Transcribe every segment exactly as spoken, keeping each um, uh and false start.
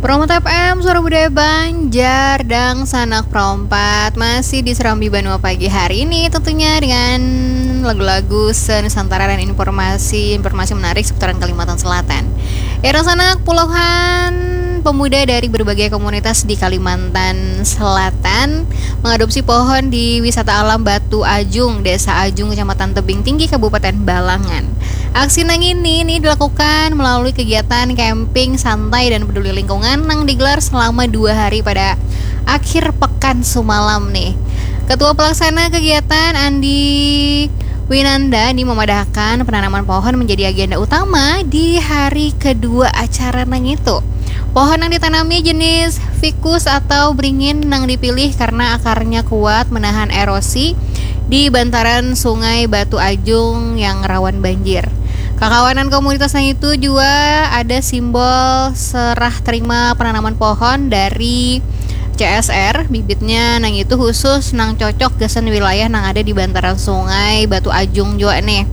Promo T F M, Suara Budaya Banjar, Dangsanak Perompat, masih di Serambi Banua pagi hari ini, tentunya dengan lagu-lagu se-Nusantara dan informasi-informasi menarik seputaran Kalimantan Selatan. Ya, Dangsanak, puluhan pemuda dari berbagai komunitas di Kalimantan Selatan mengadopsi pohon di Wisata Alam Batu Ajung, Desa Ajung, Kecamatan Tebing Tinggi, Kabupaten Balangan. Aksi nang ini nih dilakukan melalui kegiatan camping santai dan peduli lingkungan nang digelar selama dua hari pada akhir pekan sumalam nih. Ketua pelaksana kegiatan, Andi Winanda, nih memadahkan penanaman pohon menjadi agenda utama di hari kedua acara nang itu. Pohon yang ditanami jenis ficus atau beringin nang dipilih karena akarnya kuat menahan erosi di bantaran Sungai Batu Ajung yang rawan banjir. Kakawanan komunitas nang itu jua ada simbol serah terima penanaman pohon dari C S R, bibitnya nang itu khusus nang cocok gasan wilayah nang ada di bantaran Sungai Batu Ajung jua nih.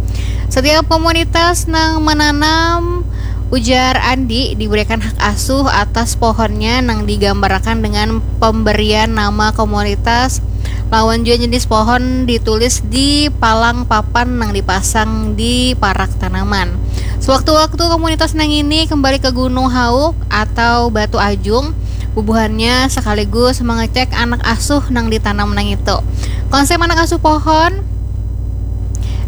Setiap komunitas nang menanam, ujar Andi, diberikan hak asuh atas pohonnya nang digambarakan dengan pemberian nama komunitas lawan jua jenis pohon ditulis di palang papan nang dipasang di parak tanaman. Sewaktu-waktu komunitas nang ini kembali ke Gunung Hauk atau Batu Ajung, bubuhannya sekaligus mengecek anak asuh nang ditanam nang itu. Konsep anak asuh pohon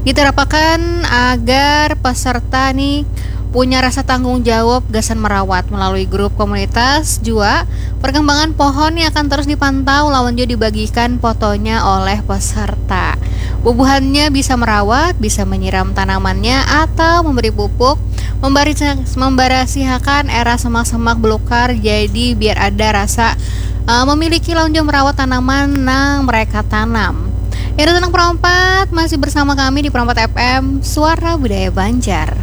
diterapakan agar peserta nih punya rasa tanggung jawab gasan merawat. Melalui grup komunitas jua, perkembangan pohon nih akan terus dipantau lawan jua dibagikan fotonya oleh peserta. Bubuhannya bisa merawat, bisa menyiram tanamannya atau memberi pupuk, membarisi-, membarasihakan era semak-semak belukar, jadi biar ada rasa uh, memiliki lawan jua merawat tanaman nang mereka tanam. Ya, Dangsanak Perompat, masih bersama kami di Perompat F M, Suara Budaya Banjar.